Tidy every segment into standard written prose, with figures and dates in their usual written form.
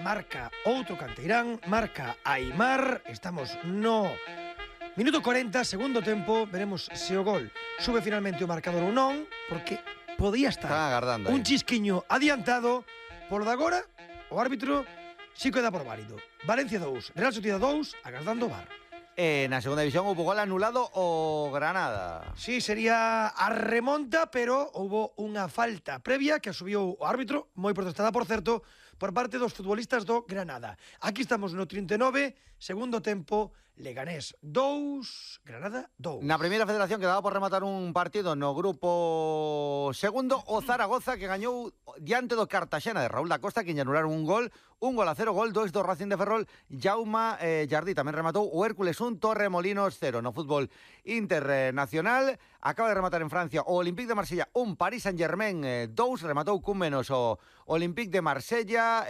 marca outro canteirán, marca Aimar. Estamos no minuto 40, segundo tempo. Veremos se o gol sube finalmente o marcador ou non, porque podía estar un chisquiño adiantado. Polo de agora, o árbitro si queda por válido. Valencia 2, Real Sociedad 2, agardando o VAR. Na segunda división hubo gol anulado o Granada. Sí, sería a remonta, pero houbo unha falta previa que asubiu o árbitro, moi protestada, por certo, por parte dos futbolistas do Granada. Aquí estamos no 39, segundo tempo, Leganés 2, Granada 2. Na primeira federación quedaba por rematar un partido no grupo segundo, o Zaragoza, que gañou diante do Cartaxena de Raúl da Costa, que anularon un gol 0, gol 2 do Racing de Ferrol. Jaume Jardí tamén rematou, o Hércules 1, Torremolinos 0. No fútbol internacional acaba de rematar en Francia o Olympique de Marsella 1, Paris Saint-Germain 2, rematou cun menos o Olympique de Marsella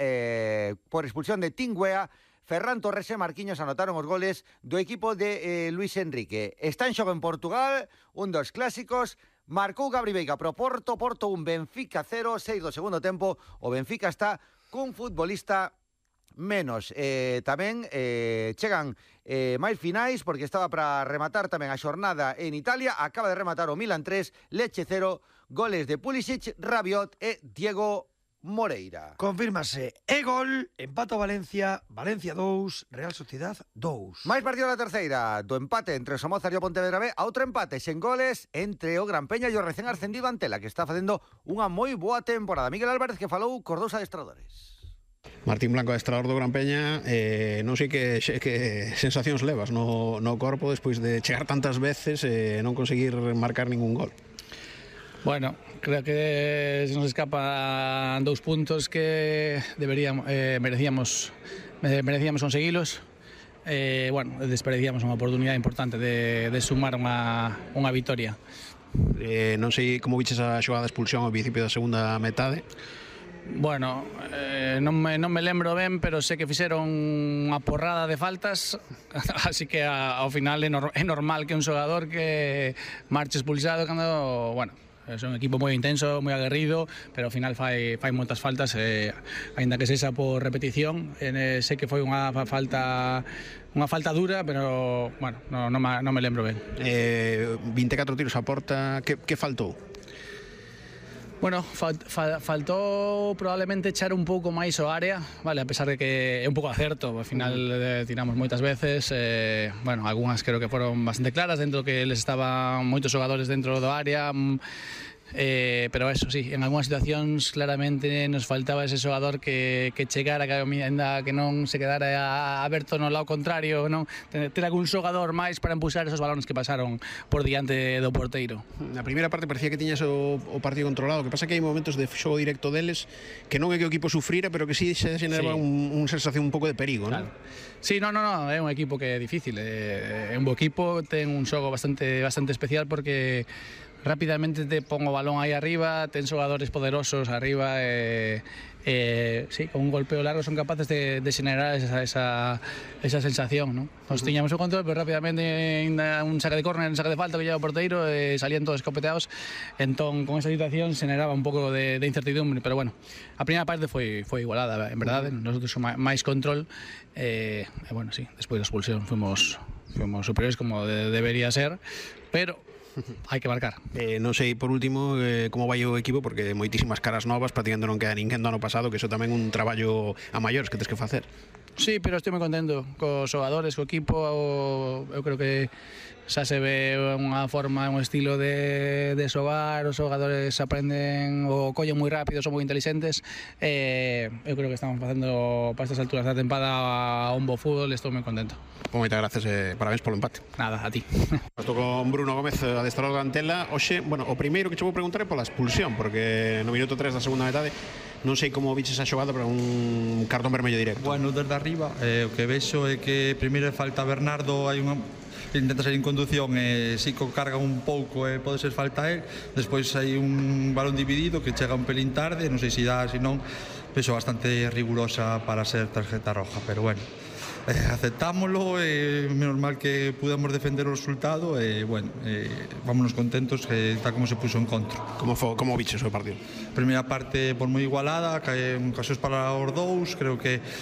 por expulsión de Tingüea. Ferran Torres e Marquinhos anotaron os goles do equipo de Luis Enrique. Está en xogo en Portugal, un dos clásicos. Marcou Gabri Veiga pro Porto 1, Benfica 0, 6 do segundo tempo. O Benfica está cun futbolista menos. Tamén chegan máis finais, porque estaba para rematar tamén a xornada en Italia. Acaba de rematar o Milan 3, Lecce 0, goles de Pulisic, Rabiot e Diego Moreira. Confírmase e gol, empata Valencia, Valencia 2, Real Sociedad 2. Máis partido da terceira, do empate entre Somozas e o Pontevedra B, a outro empate sen goles entre o Gran Peña e o recén ascendido Antela, que está facendo unha moi boa temporada. Miguel Álvarez, que falou cos dous adestradores. Martín Blanco, adestrador do Gran Peña, non sei que sensacións levas no corpo despois de chegar tantas veces e non conseguir marcar ningún gol. Bueno, creo que se nos escapan 2 puntos que merecíamos conseguilos. Bueno, desperdiciamos unha oportunidade importante de sumar unha vitoria. Non sei como viches a xogada de expulsión ao principio da segunda metade. Bueno, non me lembro ben, pero sei que fixeron unha porrada de faltas, así que ao final é normal que un xogador que marche expulsado cando, bueno, é un equipo moi intenso, moi aguerrido, pero ao final fai moitas faltas, aínda que sexa por repetición. Sei que foi unha falta dura, pero bueno, non me lembro ben. 24 tiros a porta, que faltou? Bueno, faltou probablemente echar un pouco máis o área, vale, a pesar de que é un pouco acerto, ao final tiramos moitas veces, bueno, algunhas creo que foron bastante claras, dentro que les estaban moitos xogadores dentro do área, pero eso sí, en algunhas situacións claramente nos faltaba ese xogador que chegara, que non se quedara aberto no lado contrario, non ter algún xogador máis para empuxar esos balones que pasaron por diante do porteiro. Na primeira parte parecía que tiñas o partido controlado, que pasa que hai momentos de xogo directo deles que non é que o equipo sufrira, pero que sí se xeneraba unha sensación un pouco de perigo, non? Claro. Sí, no, é un equipo que é difícil, é un bo equipo, ten un xogo bastante especial porque rápidamente te pon o balón aí arriba, ten xogadores poderosos arriba sí, con un golpeo largo son capaces de xenerar esa sensación, ¿no? Nos tiñamos o control, pero rápidamente un saque de córner, un saque de falta que lleva o porteiro, salían todos escopeteados, entón con esa situación xeneraba un pouco de incertidumbre, pero bueno, a primeira parte foi igualada, en verdade, nosotros máis control, bueno, sí, despois da expulsión fuimos superiores como debería ser, pero hai que marcar. Non sei, por último, como vai o equipo, porque moitísimas caras novas, prácticamente non queda ninguén do ano pasado, que iso tamén un traballo a maiores que tens que facer. Sí, pero estou moi contento cos xogadores, co equipo, eu creo que xa se ve unha forma, un estilo de xogar, os xogadores aprenden o collen moi rápido, son moi inteligentes, eu creo que estamos facendo para estas alturas da tempada un bo fútbol, estou moi contento. Moitas gracias e parabéns polo empate. Nada, a ti. Estou con Bruno Gómez, adestrador da Antela. Oxe, bueno, o primeiro que che vou preguntar é pola expulsión, porque no minuto 3 da segunda metade non sei como viches a xogada para un cartón vermello directo. Bueno, desde arriba, o que vexo é que primeiro falta Bernardo, hai unha intenta sair en conducción e si carga un pouco e pode ser falta a él, despois hai un balón dividido que chega un pelín tarde, non sei se dá, se non, vexo bastante rigurosa para ser tarjeta roja, pero bueno, aceptámoslo, menos mal que pudemos defender o resultado e bueno, vámonos contentos que tal como se puso en contra. Como viches o partido? Primeira parte por moi igualada, ocasións para os dous, creo que